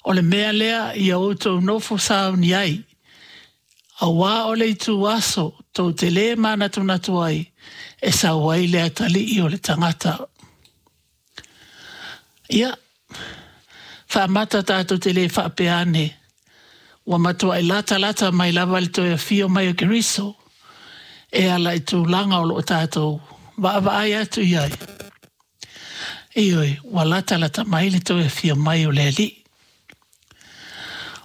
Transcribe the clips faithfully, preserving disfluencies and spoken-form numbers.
O le mea lea ia outou nofo sauni ai, auā o le ituaso tou te lē manatunatu ai e sau ai le Atalii o le tagata. Ia, faamata tatou te le faapea ane, ua matuai latalata mai lava le toe afio mai o Keriso e ala i tulaga o lo o tatou vaavaai atu i ai. Ioe, ua latalata mai le toe afio mai o le Alii.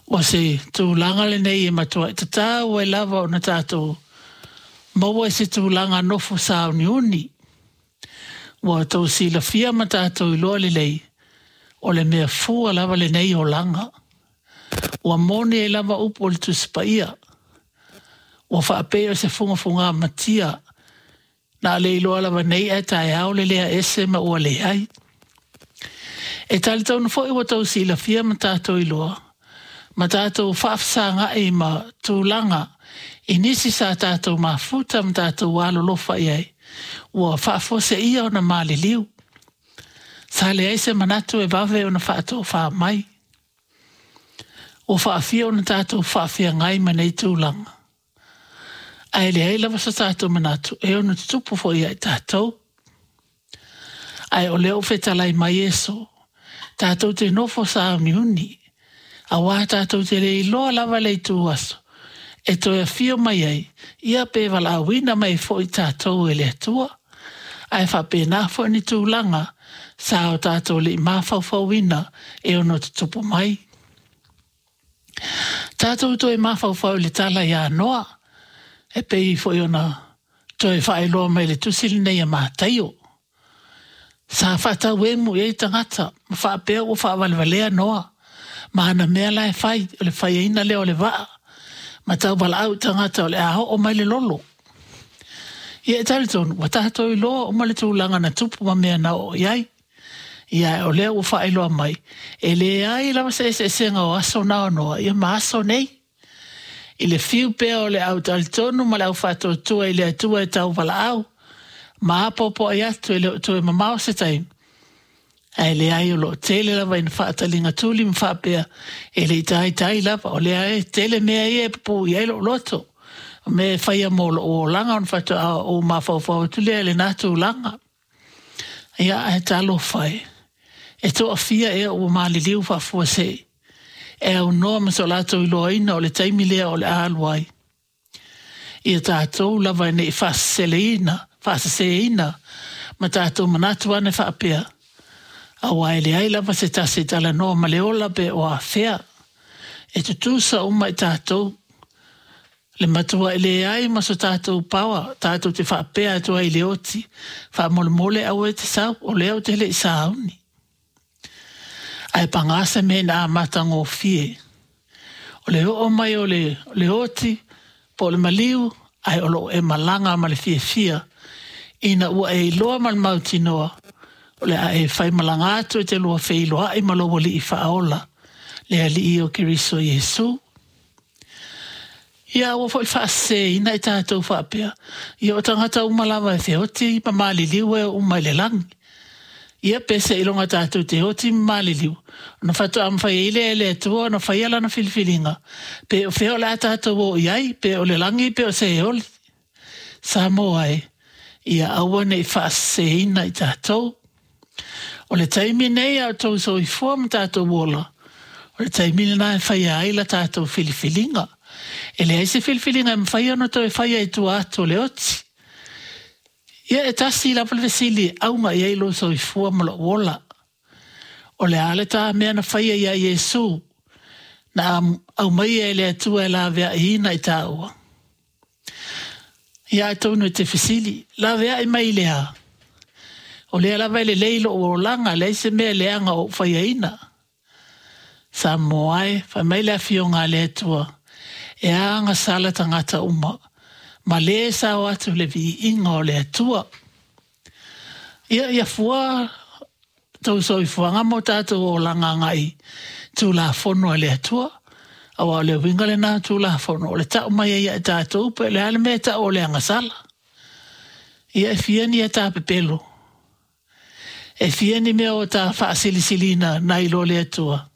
O se tulaga lenei e matuai tatau ai lava ona tatou maua i se tulaga nofo sauniuni. Ua outou silafia ma tatou iloa lelei, o le mea fua lava lenei olaga. Ua moni ai lava upu o le Tusi Paia, ua faapei o se fugafugamatia na o le iloa lava nei ae taeao le lea ese ma ua leai. E talitonu foi ua outou silafia ma tatou iloa, ma tatou faafesagaai ma tulaga i nisi sa tatou mafuta ma tatou alolofa i ai, ua faafuaseia ona maliliu. Sa leai se manatu e vave ona faatofa mai. Ua faafia ona tatou faafeagai ma nei tulaga, ae leai lava so tatou manatu e ono tutupu foi ia i tatou. Ae o lea ua fetalai mai Iesu, tatou te nofo sauniuni, auā tatou te le iloa lava le ituaso e toe afio mai ai, ia pe valaauina mai ai foi tatou e le Atua. Ae faapena foi ni tulaga sa o tatou le i mafaufauina e ono tutupu mai. Tatou toe mafaufau i le tala ia Noa, e pei foi ona toe faailoa mai i le tusi lenei a Mataio. Sa faatauemu i ai tagata ma faapea ua faavalevalea Noa ma ana mea la e fai, o le faiaina lea o le vaa, ma tauvalaau i tagata o le a oo mai le lolo. Ia e talitonu, ua tatou iloa uma le tulaga na tupu ma mea na oo i ai. Ia o lea ua faailoa mai, e leai lava se eseesega o aso na o Noa ia ma aso nei. I le fiu pea o le au talitonu ma le au faatuatua i le Atua e tauvalaau, ma apoapoai atu e le o toe mamao se taimi, ae leai o lo o tele lava ina faataliga tuli ma faapea, e le i taitai lava, o lea e tele mea ia e pupuu i ai lou loto, o mea e faia mo lou olaga ona faatoa ou mafaufau atu lea i lena tulaga. Ia ae talofa e, e toafia ea ua maliliu faafuasei, e aunoa ma so latou iloaina o le taimi lea o le a alu ai. Ia tatou lava ne i faaseseleina, faaseseina ma tatou manatu ane faapea, auā e leai lava se tasi e talanoa ma le ola pe o afea. E tutusa uma i tatou, le matuai leai ma so tatou power tatou te faapea atu ai i le oti, faamolemole aua e te sau, o lea ou te le i sauni. Ae pagā se mea ina amatagofie, o le oo mai o le, le oti po o le maliu, ae o lo o e malaga ma le fiafia, ina ua e iloa ma le mautinoa, o le a e faimalaga atu e te lua feiloai ma lou Alii Faaola, le Alii o Keriso Iesu. Ia aua foi faaseseina i tatou faapea, ia o tagata uma lava e feoti ma maliliu e oo uma i le lagi. Ia pe seiloga tatou te oti ma maliliu, ona faatoa mafai ai lea e le Atua ona faia lana filifiliga, pe o fea o le a tatou o i ai, pe o le lagi pe o Seoli. Samoa e, ia aua ne i faaseseina i tatou. O le taimi nei a o outou soifua ma tatou ola, o le taimi lena e faia ai la tatou filifiliga. E leai se filifiliga e mafai ona toe faia i tua atu o le oti. Ia e tasi lava le fesili e auga i ai lou soifua ma lou ola. O le a le ta mea na faia iā Iesu, na aumaia e le Atua e laveaiina i tāua? Ia atonu e te fesili, laveai mai i le a? O lea lava e lelei lou olaga, leai se mea leaga o ou faiaina. Samoa e, fai mai le Afioga a le Atua, e agasala tagata uma, ma lē sao atu le viiga o le Atua. Ia, ia fua tou soifuaga ma o tatou olaga agai Tulafono a le Atua, auā o le uiga lena o Tulafono, o le tau mai ai ia i tatou pe o le a le mea e tau o le agasala. Ia e fia ni a ta pepelo? E fia ni mea o ta faasilisiliina nai lo le Atua?